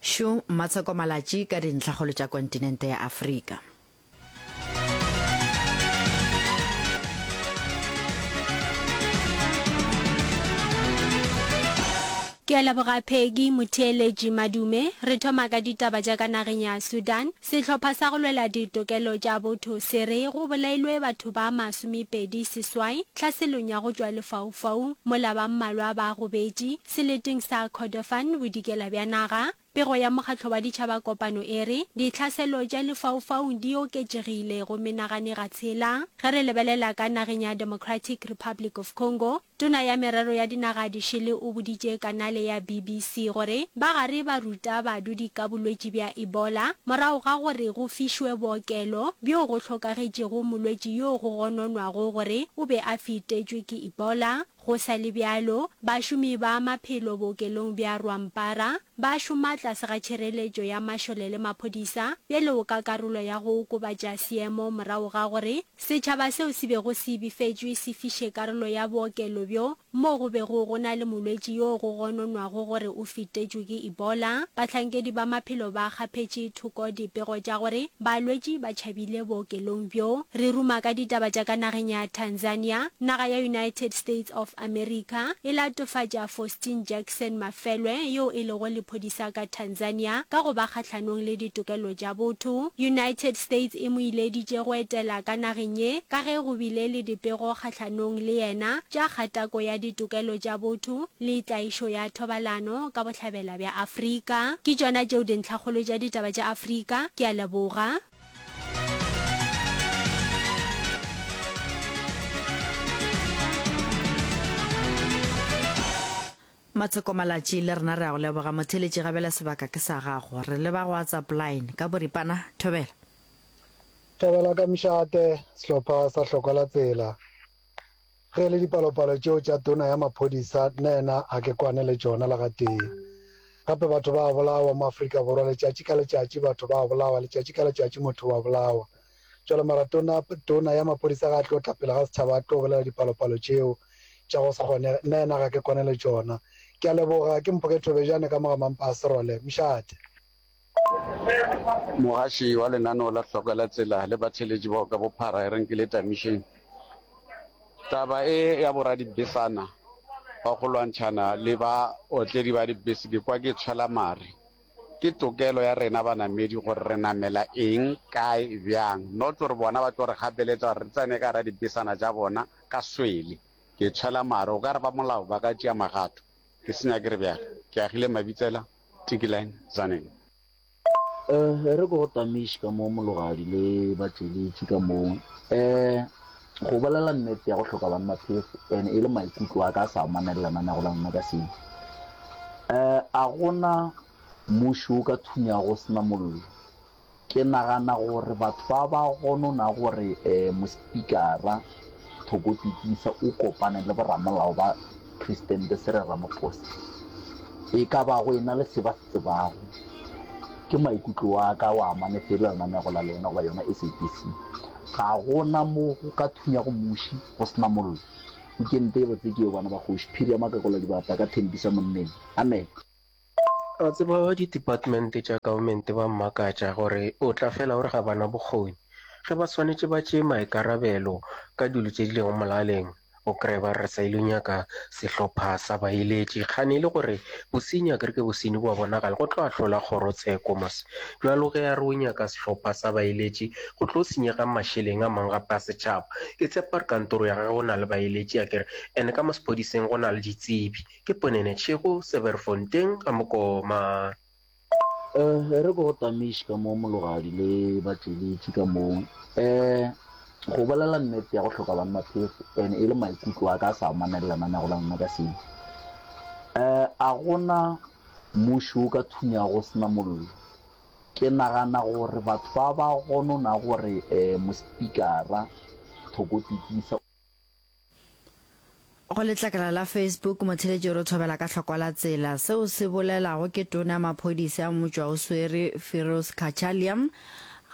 Šo Mmatsheko Malatji ka dintlhakgolo tša kontinente ya Afrika. Ke a leboga Peggy Motheeletši Madume. Re thoma ka ditaba tša ka nageng ya Sudan. Sehlopha sa go lwela ditokelo tša botho se re go bolailwe batho ba masomepedi seswai tlhaselong ya go tšwa lefaufaung mola ba mmalwa ba gobetše seleteng sa Kordofan bodikela bja naga. Pego ya Mokgatlo wa Ditšhaba Kopano e re, Ditlhaselo tša lefaufaung di oketšegile go menagane ga tshela. Ge re lebelela ka nageng ya Democratic Republic of Congo, Tona ya Merero ya Dinaga Dišele o boditše kanale ya BBC gore ba gare ba ruta badudi ka bolwetši bja Ebola morago ga gore go fišwe bookelo bjo go hlokagetšego molwetši yo go gononwago gore o be a fetetšwe ke Ebola. Go sa le bjalo, bašomi ba maphelo bookelong bja Rwampara ba šoma tlase ga tšhireletšo ya mašole le maphodisa bjalo ka karolo ya go okobatša seemo morago ga gore setšhaba seo se bego se befetšwe se fiše karolo ya bookelo bjo moo go bego go na le molwetši yo go gononwago gore o fetetšwe ke Ebola. Bahlankedi ba maphelo ba kgaphetše thoko dipego tša gore balwetši ba tšhabile bookelong bjo. Re ruma ka ditaba tša ka nageng ya Tanzania, naga ya United States of America e latofatša Faustin Jackson Mafelwe yo e lego lephodisa ka Tanzania ka go ba kgahlanong le ditokelo tša botho. United States e mo ileditše go etela ka nageng ye ka ge go bile le dipego kgahlanong le yena tša kgatako ya ditokelo tša botho le tlaišo ya thobalano ka bohlabela bja Afrika. Ke tšona tšeo dintlhakgolo tša ditaba tša Afrika. Ke a leboga. Matsheko Malatji, le rena re a go leboga. Motheeletši gabjale sebaka ke sa gago. Re leba go WhatsApp line. Ka boripana, thobela. Thobela ka Mšate, sehlopha sa Hlokwa la Tsela. Ge e le dipalopalo tšeo tša tona ya maphodisa, nnaena ga ke kwane le tšona le gatee. Gape batho ba a bolawa mo Afrika Borwa letšatši ka letšatši, batho ba a bolawa letšatši ka letšatši, motho o a bolawa. Jwale mara tona, tona ya maphodisa ga a tlo tla pele ga setšhaba a tlo bolela dipalopalo tšeo tša go se kgonege, nnaena ga ke kwane le tšona. Ke a leboga, ke Mphoke Thobejane ka mo ga Mampa a Serole. Mšate. Mogaši wa lenaneo la Hloko la Tsela le batheeletši bao ka bophara e reng ke le tamišeng. Taba e ya boradibesana ba go lwantšhana le baotledi ba dibese ke kwa ke tshwela mare. Ke tokelo ya rena banamedi gore re namela eng, kae, bjang, not gore bona ba tlo re gapeletša gore re tsene ka gara dibesana tša bona ka swele. Ke tshwela mare, o ka re ba molao ba ka tšea magato. Ke senya ke re bjale. Ke agile Mabitsela. Tikiline, Tzaneen. E re ke go tamiše ka mo Mologadi le batšweletši ka mo. E, go bolela nnete ya go hloka banna phefo and e le maikutlo a ka a sa amane le lenanego la lena ka seo. E, a gona muši o ka thunyago o se na mollo. Ke nagana gore batho ba ba gonona gore Mospikara Thoko Tikisa o kopane le boramolao ba Presidente Cyril Ramaphosa e ka ba go ena le se ba se tsebago. Ke maikutlo a ka wa amane fela lenanego la lena goba yona SABC. Ga go na mo go ka thunyago muši go se na mollo. Weekend e botse ke yeo bana ba kgoši. Phiri ya Makakola Dibata ka Thembisa Monneng. Amen. A tseba ba di-department tša government ba mmakatša gore o tla fela o re ga ba na bokgoni. Ge ba swanetše ba tšee maikarabelo ka dilo tše di lego molaleng, o kreye ba re re sa ile nyaka sehlopha sa baeletši. Kgane e le gore bosenyi akere ke bosenyi bo a bonagala, go tlo ahlola kgorotsheko mos. Bjalo ge a re o nyaka sehlopha sa baeletši, go tlo senyega mašeleng a mang gape a setšhaba. Ke tshepa gore kantoro ya gagwe go na le baeletši akere, and ka mo sephodiseng go na le ditsebi. Ke Ponene Tšhego, Severfontein, ga Mokoma. E re ke go tamiše ka mo Mologadi le batšweletši ka mo. E, go bolela nnete ya go hloka banna phefo and e le maikutlo a ka a sa amane le lenanego la lena ka seo. E, a gona muši o ka thunyago o se na mollo. Ke nagana gore batho ba ba gonona gore Mospikara Thoko Tikisa, Go letlakala la Facebook, motheeletši o re thobela ka hlokwa la tsela. Seo se bolelago ke tona ya maphodisa ya motšwaoswere Firoz Cachalia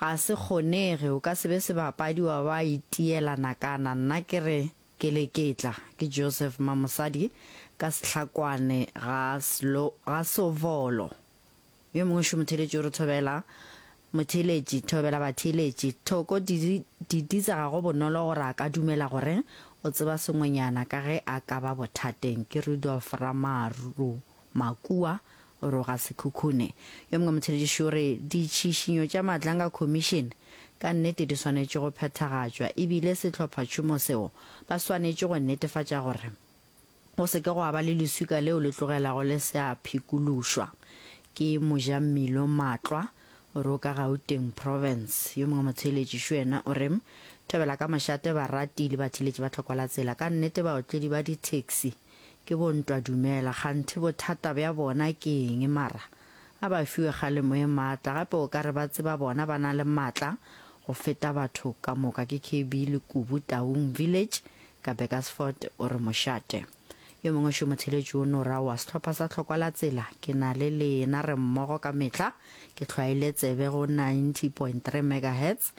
ga se kgonege. O ka se be sebapadi wa ba itiela nakana. Nna ke re ke leketla. Ke Joseph Mamosadi ka Sehlakwane ga Sovolo. Yo mongwe šo motheeletši o re thobela motheeletši, thobela batheeletši. Thoko Diditsa ga go bonolo gore a ka dumela gore o tseba sengwenyana ka ge a ka ba bothateng. Ke Rudolf Ramaru Makua o re o ga Sekhukhune. Yo mongwe motheeletši šo o re ditšhišinyo tša Madlanga Commission ka nnete di swanetše go phethagatšwa ebile sehlophatšhomo seo ba swanetše go netefatša gore Go se ke gwa ba le leswika leo le tlogelago le se a phikološwa. Ke Mojammilo Matlwa, o re o ka Gauteng Province. Yo mongwe motheeletši šo yena o re, Thobela ka mošate barati le batheeletši ba tlhoko la tsela. Ka nnete baotledi ba di-taxi ke bo ntwa dumela. Kganthe bothata bja bona ke eng mara? A ba fiwe kgalemo e maatla. Gape o ka re ba tseba bona ba na le maatla go feta batho ka moka. Ke KB Lekubu Taung Village Ka Burgersfort o re mošate. Yo mongwe šo motheletši o no ra wa sehlopha sa Tlhokwa la Tsela, ke na le lena re mmogo ka mehla, ke hlwaile tsebe go 90.3 megahertz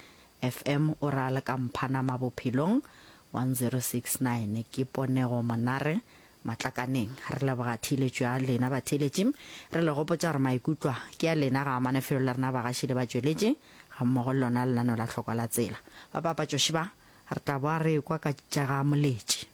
FM o ra le ka Mphanama Bophelong 1069 ke Ponego Monare Matlakaneng. Re leboga theeletšo ya lena batheeletši, re le gopotša gore maikutlo a ke a lena ga amane felo le rena bagaši le batšweletši gammogo le lona lenaneo la Tlhokwa la Tsela. Bapapatšoši ba Re tla boa re ekwa ka tša ga Moletši.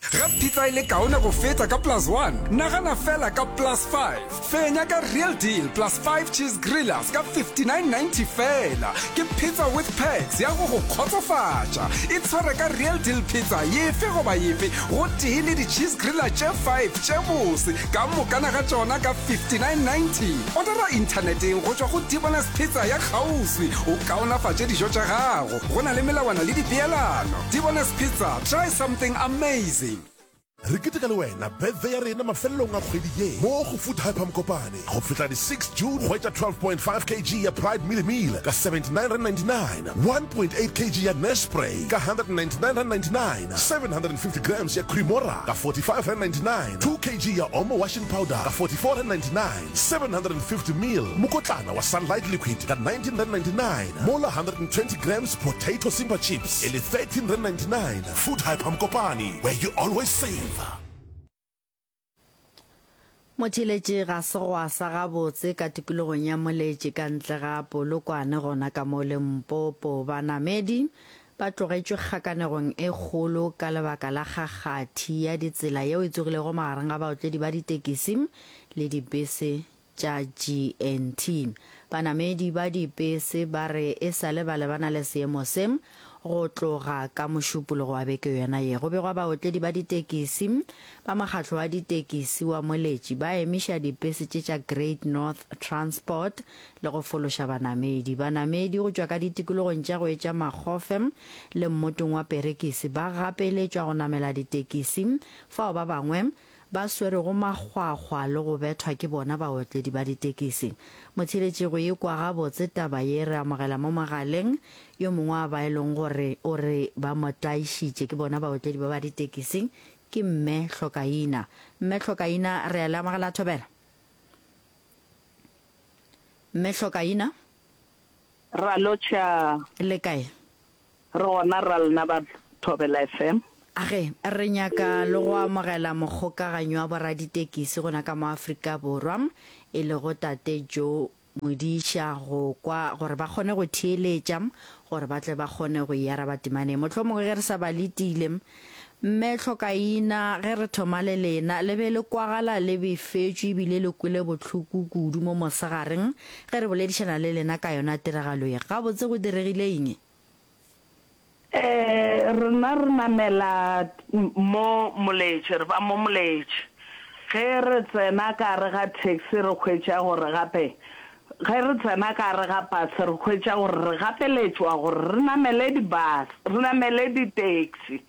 Ge pizza e le kaone go feta ka plus one, nagana fela ka plus five. Fenya ka Real Deal plus five cheese grillers ka 59.90 fela. Ke pizza with perks ya go go kgotsofatša. Itshware ka Real Deal pizza yefe goba yefe gotee le di-cheese griller tše five tše bose ka mokana ga tšona ka 59.90. Odara inthaneteng go tšwa go Dibonus Pizza ya kgauswi o kaonafatše dijo tša gago. Go na le melawana le dipeelano. Dibonus Pizza, try something amazing. Re keteka le wena birthday ya rena mafelelong a kgwedi ye mo go Food Hyper Mokopane go fihla di 6 June. Hwetša 12.5 kg ya Pride Mealie Meal ka R79.99, 1.8 kg ya Nespray ka R199.99, 750 grams ya Cremora ka R45.99, 2 kg ya Omo Washing Powder ka R44.99. 750 mil mokotlana wa Sunlight Liquid ka R19.99 mola 120 grams Potato Simba Chips e le R13.99. Food Hyper Mokopane, where you always save. Motheeletši ga se gwa sa gabotse ka tikologong ya Moletši ka ntle ga Polokwane gona ka mo Limpopo. Banamedi Ba tlogetšwe kgakanegong e kgolo ka lebaka la kgakgathi ya ditsela yeo e tsogilego magareng ga baotledi ba ditekisi le dipese tša GNT. Banamedi ba dipese ba re e sa le ba lebana le seemo se go tloga ka Mošupologo wa beke yona ye. Go begwa baotledi ba ditekisi ba mokgatlo wa ditekisi wa Moletši ba emiša dipese tše tša Great North Transport le go fološa banamedi. Banamedi go tšwa ka ditikologong tša go etša Makgofe le mmotong wa Perekisi ba gapeletšwa go namela ditekisi fao ba bangwe ba swerego makgwakgwa le go bethwa ke bona baotledi ba ditekisi. Motheeletši go ekwa gabotse taba ye re amogela mo mogaleng yo mongwe wa ba e leng gore o re ba mo tlaišitše ke bona baotledi ba ba ditekisi ke Mme Hlokaina. Mme Hlokaina re a le amogela Thobela. Mme Hlokaina. Ra lotšha. Le kae? Re gona ra lena ba Thobela FM. Age, re nyaka le go amogela mokgokaganyi wa boraditekisi gona ka mo Afrika Borwa, e lego Tate Joe Modiša go kwa gore ba kgone go theeletša gore ba tle ba kgone go e araba temaneng. Mohlomongwe ge re sa ba letile, Mme Hlokaina, ge re thoma le lena, le be le kwagala le befetšwe ebile le kwele bohloko kudu mo mosegareng ge re boledišana le lena ka yona tiragalo ye. Gabotse go diregile eng? Ee, rena re namela mo Moletše, re ba mo Moletše. Ge re tsena ka gare ga taxi re hwetša gore gape, ge re tsena ka gare ga pase re hwetša gore re gapeletšwa gore re namele di-bus, re namele di-taxi.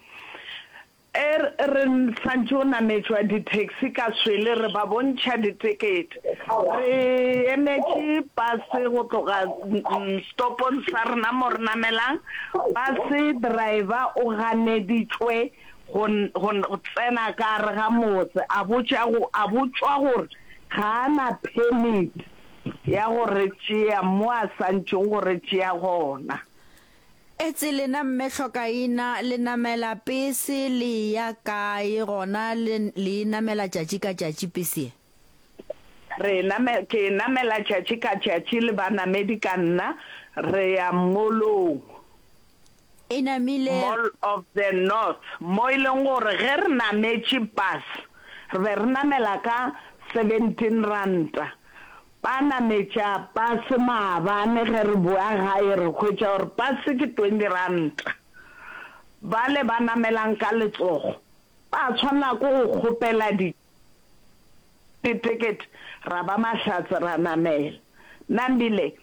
E re santše o nametšwa di-taxi ka swele re ba bontšha ditekete. Re emetše pase go tloga stopong sa rena mo re namelang. Pase driver o ganeditšwe go go tsena ka gare ga motse a botša go a botšwa gore ga a na permit ya go re tšea mo a santšeng go re tšea gona. Etse lena mme Hlokaina le namela pese le eya kae gona le le e namela tšatši ka tšatši pese ye? Re e name, ke e namela tšatši ka tšatši le banamedi ka nna, re ya molong. E namile. Mall of the North, mo e leng gore ge re nametše bus, re be re namela ka 17 ranta. Ba nametša bus maabane ge re boa gae re hwetša gore bus ke 20 ranta. Bale ba namelang ka letsogo ba tshwanela ke go kgopela di ditekete ra ba mahlatse ra namela. Nambile,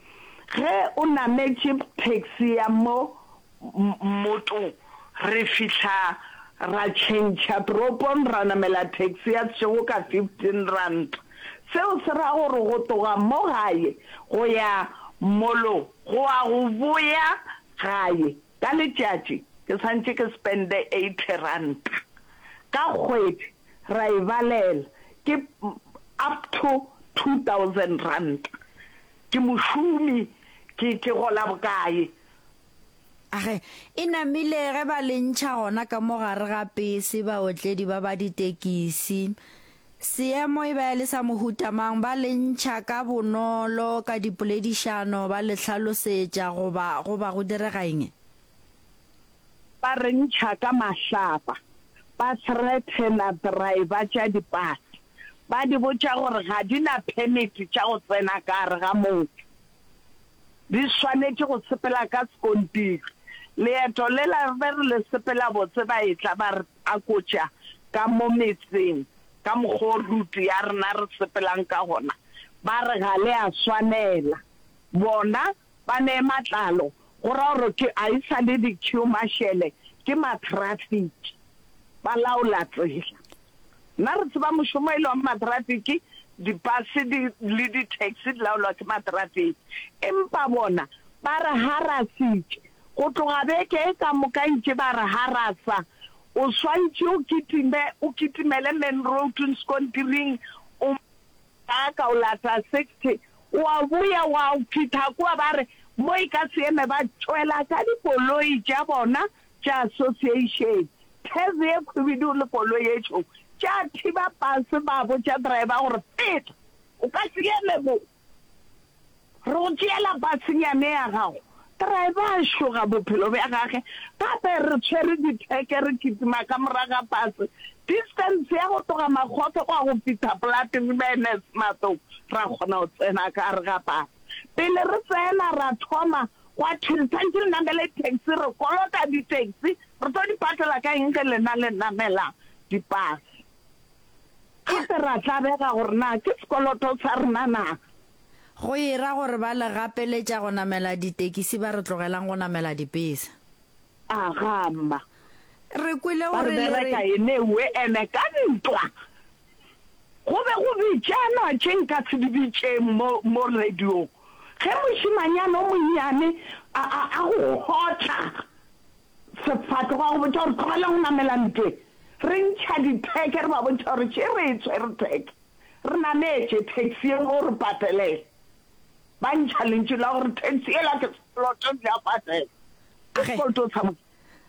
Ge o nametše taxi ya mo mmotong re fihla ra tšhentšha toropong ra namela taxi ya sešego ka 15 ranta. Seo se ra gore go tloga mo gae go ya molong go a go boya gae ka letšatši ke santše ke spende 80 ranta. Ka kgwedi ra e balela ke up to 2000 ranta. Ke mošomi ke ke gola bokae? Age, e namile ge ba le ntšha gona ka mo gare ga pese baotledi ba ba ditekisi. Seemo e ba e le sa mohuta mang? Ba le ntšha ka bonolo ka dipoledišano ba le hlalosetša goba go ba go direga eng? Ba re ntšha ka mahlapa, ba threatena driver tša dipase, ba di botša gore ga di na permit tša go tsena ka gare ga motse. Di swanetše go sepela ka sekontiri. Leeto lela re be re le sepela botse ba etla ba re akotša ka mo metseng ka mokgwa o route ya rena re sepelang ka gona, ba re ga le a swanela. Bona ba ne matlalo go ra gore ke a e sa le di-queue marshal ke ma-traffic ba laola tsela. Nna re tseba mošomo e le wa matrafiki, dipase di le di-taxi di laolwa ke matrafiki. Empa bona ba re harasitše. Go tloga beke e ka moka ntše ba re harasa. O swantše o kitime, o kitimele main road sekontiring, o ka o lata 60, wa boya wa fihla kua ba re mo e ka se eme, ba tšwela ka dikoloi tša bona tša association, tag ye khwibidu le koloi ye tšhweu tša thiba pase ba botša driver gore feta o ka se eme mo re go tšeela pasenyane ya gago. Driver a šoga bophelo bja gage gape re tshwere ditheke re kitima ka morago ga pase distance ya go tloga Makgotho go ya go fihla Plaatje Matlou ra kgona go tsena ka gare ga pase. Pele re tsena ra thoma Gwa thwe le santše le namele taxi, re kolota di-taxi, re tlo di patela ka eng ge lena le namela dipase? Gape ra tlabega gore na ke sekoloto sa rena na? Go e ra gore ba le gapeletša go namela ditekisi ba re tlogelang go namela dipese. Aga mma. Re kwele Ba gore re le re. bereka enewe ene ka ntwa. Go be go bitšanwa tše nka se di bitšeng mo, mo radiong. Ge mošemanyana o monnyane a, a, a go kgotla sefatlogo, a go botša gore tlogela go namela ntweng, re ntšha ditheke re ba bontšha gore še re e tshwere theke, re nametše taxi ye nngwe o re patelele. Ba ntšha lentšu la gore taxi yela ke sekoloto le a patela. Ke sekoloto sa bona.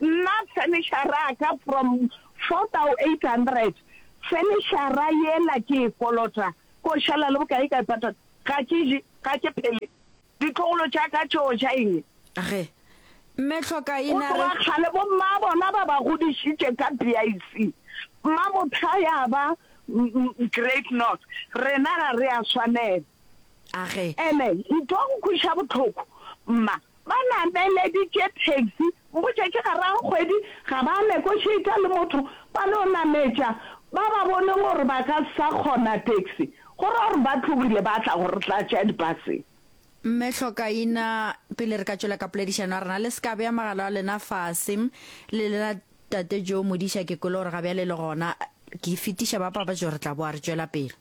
Nna furniture ya ka from 4800 furniture yela ke e kolota ko šala le bokae ka e patala ga ke je ga ke phele ditlogolo tša ka tšo ja eng. Ge Mme Hlokaina Go tloga kgale bo mma bona ba ba godišitše ka BIC mma motha ya ba Great North rena ga re a swanela. Age. Ene ntho ya go kweša bohloko mma Ba nameleditše taxi, mpotše ke gare ga kgwedi, ga ba negotiate le motho, ba no nametša ba ba boneng gore ba ka sa kgona taxi, go ra gore ba tlogile ba tla go re tlatša dipaseng. Mme Hlokaina, pele re ka tšwela ka poledišano ya rena, le se ka bea magala a lena fase. Le lena Tate Joe Modiša, ke kwele gore ga bjale le gona. Ke fetiša ba papatšo, re tla boa re tšwela pele.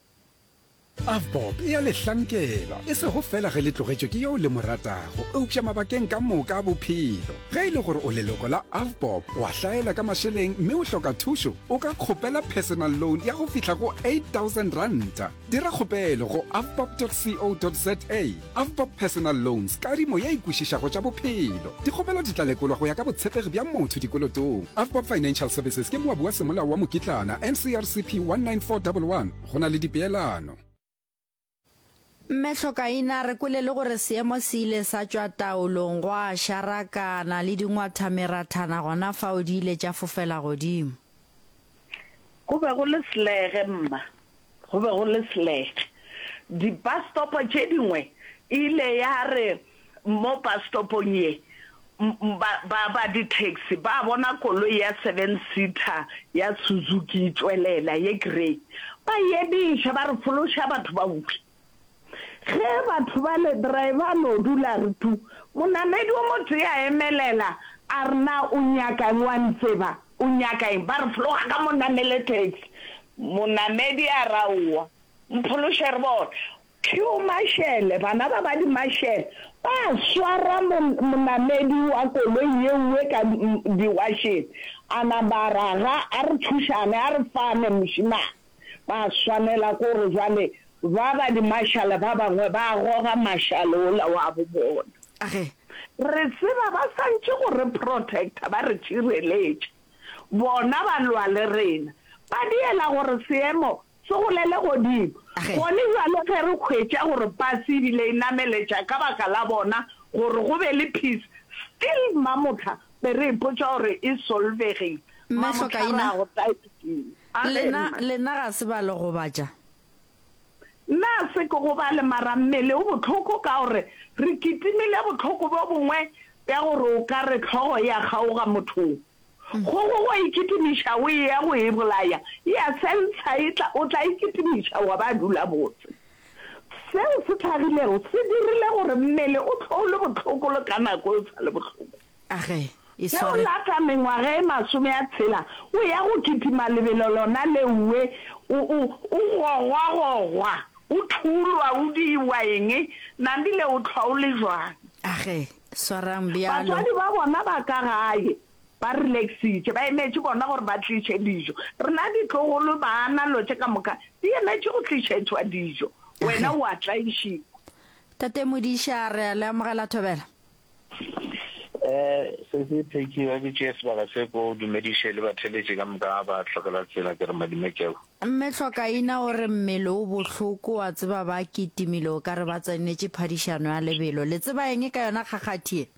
Avbob e a le hlankela, e sego feela ge le tlogetšwe ke yo le mo ratago, eupša mabakeng ka moka a bophelo. Ge e le gore o leloko la Avbob, wa hlaela ka mašeleng mme o hloka thušo, o ka kgopela personal loan ya go fihla go R8000. Dira kgopelo go avbob.co.za. Avbob Personal Loans, kadimo ye e kwešišago tša bophelo. Dikgopelo di tla lekolwa go ya ka botshepegi bja motho dikolotong. Avbob Financial Services ke moabi wa semolao wa mokitlana, NCRCP 19411. Go na le dipeelano. Mme Hlokaina, re kwele le gore seemo se ile sa tšwa taolong, gwa šarakana le dingwathamerathana gona fao di ile tša fofela godimo. Go be go le selege, mma. Go be go le selege. Di-bus stop tše dingwe e ile ya re mo bus stopong ye, ba, ba, ba di-taxi ba bona koloi ya seven seater ya Suzuki e tšwelela, ye grey. Ba e emiša, ba re fološa batho ba uwe. Ge batho bale, driver a no dula a re tu, monamedi o motee a emelela a re na o nyaka eng, wa ntseba, o nyaka eng? Ba re fologa ka mo namele taxi. Monamedi a re aowa, mphološe re bone. Phew Mashele, bana ba ba di-Mashele ba swara monamedi wa koloi yeuwe ka diwašeng, a napa a raga, a re thušane, a re fane mošemane. Ba swanela ke gore jwale ba ba di-Mashale ba bangwe ba goga Mashale ola wa bo bona. Re tseba ba santše go re protecta, ba re tšireletša. Bona ba lwa le rena. Ba diela gore seemo Se golele godimo. Gone bjale ge re hwetša gore pase ebile e nameletša ka baka la bona gore go be le peace, still Mamohla be re ipotša gore e solvegile. Mme Mamohla re Hlokaina, a go type-ing. A ge, lena, mma. lena ga se ba le gobatša? Nna a se ke gobale mara mmele o bohloko ka gore re kitimile bohloko bjo bongwe bja gore o ka re hlogo e a kgaoga mothong. Kgogo go e kitimiša o eya go e bolaya, e a sentsha e tla, o tla e kitimiša wa ba dula botse. Seo se hlagilego se dirile gore mmele o hlwe o le bohloko le ka nako o sa le bohloko. Age, e Ge o sware. lata mengwaga e masomeatshela o ya go kitima lebelo lona leuwe, o, o, o gogwagogwa, o thulwa, o diiwa eng, nambile o hlwa o le jwang? Age, Swarang bjalo. Batswadi ba bona ba ka gae ba relaxitše, ba emetše bona gore ba tliše dijo. Rena ditlogolo, bana, lo tše ka moka di emetše go tlišetšwa dijo. Wena o a tlaišiwa. Tate Modiša, re a le amogela Thobela. Eh, Sesi Peggy, ba ke tšee sebaka se ko dumediše le batheletši ka moka ba hlokela tsela ke re madume keo. Mme Hlokaina o re mmele o bohloko wa tseba ba kitimile o ka re ba tsenetše phadišano ya lebelo. Le tseba eng ka yona kgakgathi ye?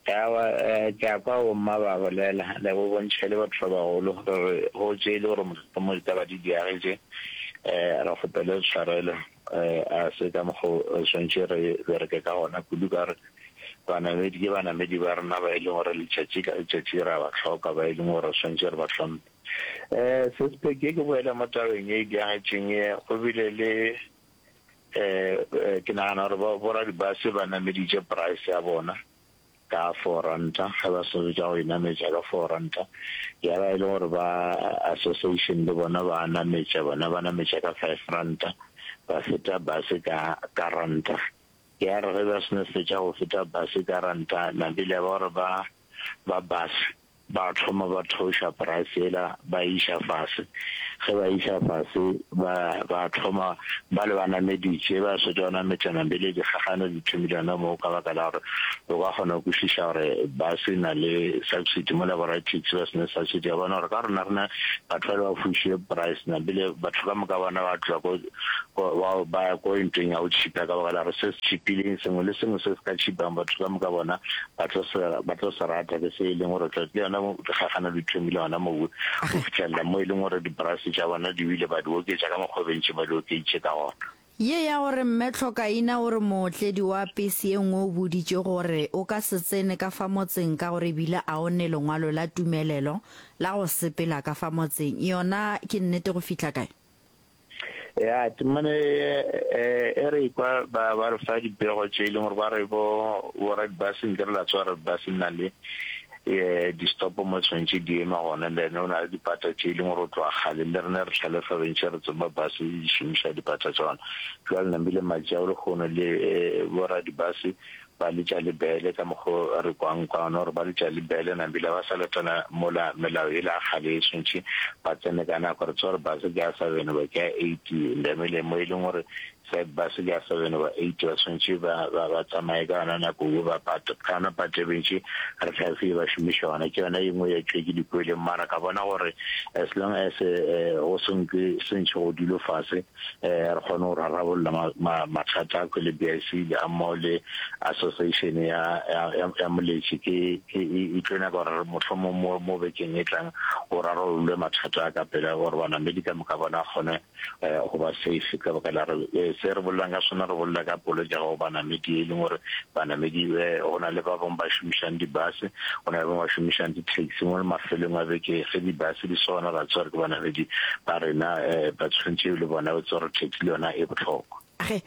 Aowa, ke a kwa bomma ba bolela, le go bontšha e le batho ba bagolo, re re go tše e le gore mohlomong ditaba di diagetše, re kgopele tshwarelo, a se ka mokgo re swanetše re bereke ka gona, kudu ka gore banamedi ke banamedi ba rena ba e leng gore letšatši ka letšatši re a ba hloka, ba e leng gore re swanetše re ba hlomphe. Um Sespeke, ke boele mo tabeng ye e diagetšeng ye, go bile le um ke nagana gore boradibase ba nameditše price ya bona ka four ranta, ge ba swanetše go e nametša ka four ranta, ya ba e le gore ba association le bona ba nametša, bona ba nametša ka five ranta, ba feta base ka ka ranta. Ya re ge ba seno fetša go feta base ka ranta, nabile ya ba gore ba ba base Ba thoma ba theoša price yela ba e iša fase. Ge ba e iša fase ba ba thoma ba le ba nameditše, ba swetša go nametša nambele dikgagano di thomile gona moo ka baka la gore o ka kgona go kwešiša gore bus e na le subsidy mola bo raditaxi ba sena subsidy. Wa bona gore ka rona rena batho ba le ba fušitše price nambele batho ka moka bona ba tloga ko ko ba ba ya ko ntweng ya go tšhipa ka baka la gore se se tšhipileng sengwe le sengwe se se ka tšhipang batho ka moka bona ba tlo se ba tlo se rata ke se e leng gore tla le yona dikgagano di thomile gona moo go fihlelela mo e leng gore diporaise tša bona di wile ba di oketša ka mokgwa o bentše ba di okeditše ka gona. Ye ya gore Mme Tlhokaina o re mootledi wa pese ye nngwe o boditše gore o ka se tsene ka fa motseng ka gore ebile a o ne lengwalo la tumelelo la go sepela ka fa motseng yona ke nnete go fihla kae? Ya, temana e, e re kwa ba ba re fa dipego tše e leng gore ba re bo bo radibase nke re la tsoga radibase nna le eh di-stop mo tshwanetse di ema gona le ene o na le dipata tše e leng gore o tloga kgale le rene re tlhalefa bentše re tseba base di šomiša dipata tša gona jwale nambile matšea o lekgono le bo radibase. Ba letša le bele ka mokgo re kwang ka gona gore ba letša le bele nambile ba sa latela mola melao yela ya kgale e swantšhe ba tsene ka nako. Re tseba gore bus ke ya seven goba ke ya eight ndamele mo e leng gore se bus ke ya seven goba eight ba swantšhe ba ba ba tsamaye ka yona nako eo ba pate ka yona pate bentši re hlafile ba šomiša yona ke yona ye nngwe ya tšwe ke di kweleng mara ka bona gore as long as go se nke sentšhe go dilo fase re kgone go rarabolla mathata a le BIC le gammogo le association ya ya ya Moletši ke ke e tlo nyaka gore mohlomong mo mo bekeng e tlang go rarollwe mathata a ka pela gore banamedi ka moka bona kgone go ba safe ka baka la re se re bolelang ka sona re bolela ka polokego go banamedi e leng gore banamedi go na le ba bangwe ba šomišang di-bus go na le ba bangwe ba šomišang di-taxi mo mafelong a beke ge di-bus di sona ra tseba gore ke banamedi ba rena ba tshwanetše le bona ba tsebe gore taxi le yona e bohlokwa. Ge,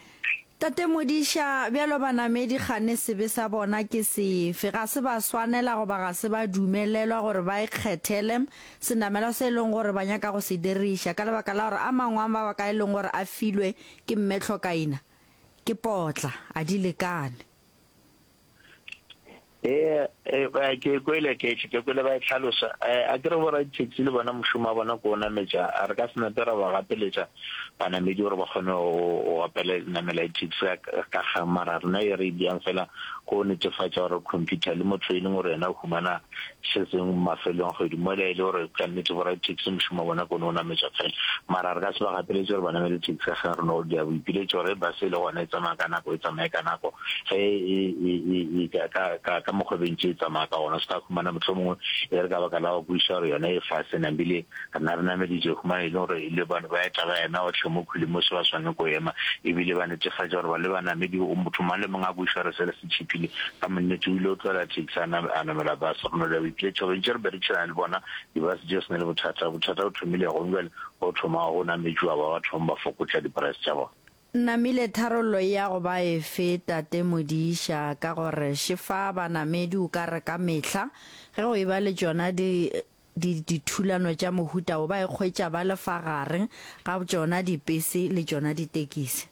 Tate Modiša, bjalo banamedi kgane sebe sa bona ke sefe? Ga se ba swanela goba ga se ba dumelelwa gore ba ikgethele senamelwa se e leng gore ba nyaka go se diriša ka lebaka la gore a mangwe a mabaka a e leng gore a filwe ke Mme Tlhokaina ke potla, a di lekane. Ee, ke kwele ke ke kwele ba e hlalosa. A ke re bo raditaxi le bona mošomo wa bona ke o nametša, a re ka se nape ra ba gapeletša banamedi gore ba kgone go opela namela di-taxi ka kgang. Mara rena e re e diang fela ke go netefatša gore computer le motho e leng gore yena o humana se sengwe mafelong a kgwedi mola e le gore ka nnete bo raditaxi mošomo wa bona ke o nametša fela. Mara re ka se ba gapeletše gore ba namele taxi ka kgang, re no dia boipiletšo gore bus e le gona e tsamaya ka nako e tsamaye ka nako. Ge e, e, e, e ka, ka, ka, ka mokgwa e bentše e tsamaya ka gona, se ka humana mohlomongwe e re ka baka la go kwešiša gore yona e fase nambile rena re nameditše, humana e le gore le bane ba eta ba ema gohle mo khwili mo se ba swanne ko ema, ebile ba netefatša gore ba le banamedi, motho mang le mang a kwešiša gore sele se tšhiphile, ka monnete o ile o tlogela taxi a a namela bus. Re no dira boipiletšo gore ntše re berekišana le bona, di-bus tše se na le bothata, bothata bo thomile gong bjale go thoma go nametšwa ba ba thoma ba fokotša di-price tša bona. Namile tharollo e ya go ba efe, Tate Modiša, ka gore šefa banamedi o ka re ka mehla ge go eba le tšona di, di, dithulano tša mohuta wo ba ikgwetša ba le fa gare ga tšona dipese le tšona ditekisi.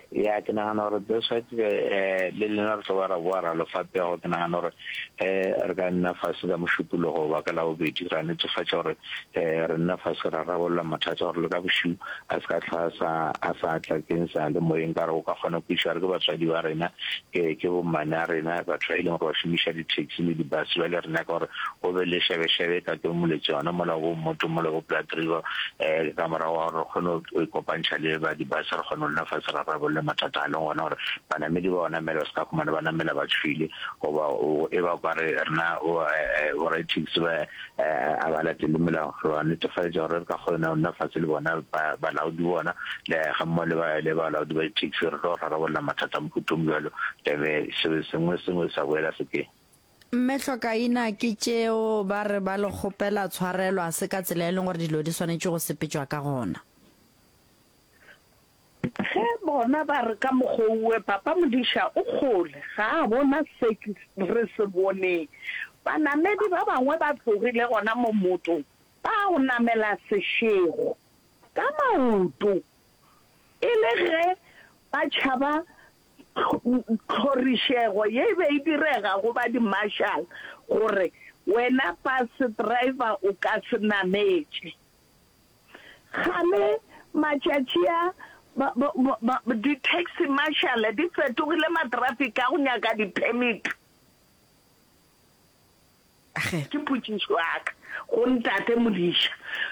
Ya, ke nagana gore that's why eh, le lena re tlo ba ra boa ra lo fa pego. Ke nagana gore eh, re ka nna fase ka Mošupologo goba ka Labobedi ra netefatša gore eh, re nna fase ra rarolla mathata gore le ka bošiu a se ka hlwa a sa a sa tla keng sa le moyeng ka re o ka kgona go kwešiša gore ke batswadi ba rena ke ke bommane a rena batho ba e leng gore ba šomiša di-taxi le di-bus bjale re nyaka gore go be le šebešebe ka ke moletse yona mola bo mmoto mola bo Blood River um ka morago ga gore re kgone go ikopantšha le ba di-bus re kgone go nna fase ra rarolle mathata a leng gona gore banamedi ba namela ba se ka humana ba namela ba tšhwile goba e ba kware rena bo ra-taxi ba A ba latele melao. Re ba netefaletša gore re ka kgona go nna fase le bona balaodi bona le gammogo le ba le balaodi ba di-taxi re tlo rarabolla mathata a mohuta o bjalo tebe se sengwe sengwe sa boela sekeng. Mme Hlokaina, Ke tšeo ba re ba le kgopela tshwarelo, a se ka tsela e leng gore dilo di swanetše go sepetšwa ka gona. Ge bona ba re ka mokgouwe Papa Modiša o kgole, ga a bona se re se boneng. Banamedi ba bangwe ba tlogile gona mo mmotong ba go namela sešego ka maoto e le ge ba tšhaba tlhorišego ye e be e direga go ba di-marshal gore wena bus driver o ka se nametše. Kgale matšatši a, ba, ba, ba, ba, di-taxi marshal di fetogile ma-traffic a go nyaka di-permit. Ge. Ke potšišo ya ka go Ntate Modiša.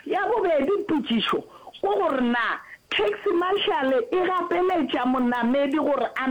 Ya bobedi potšišo ke gore na taxi marshal e gapeletša monamedi gore a.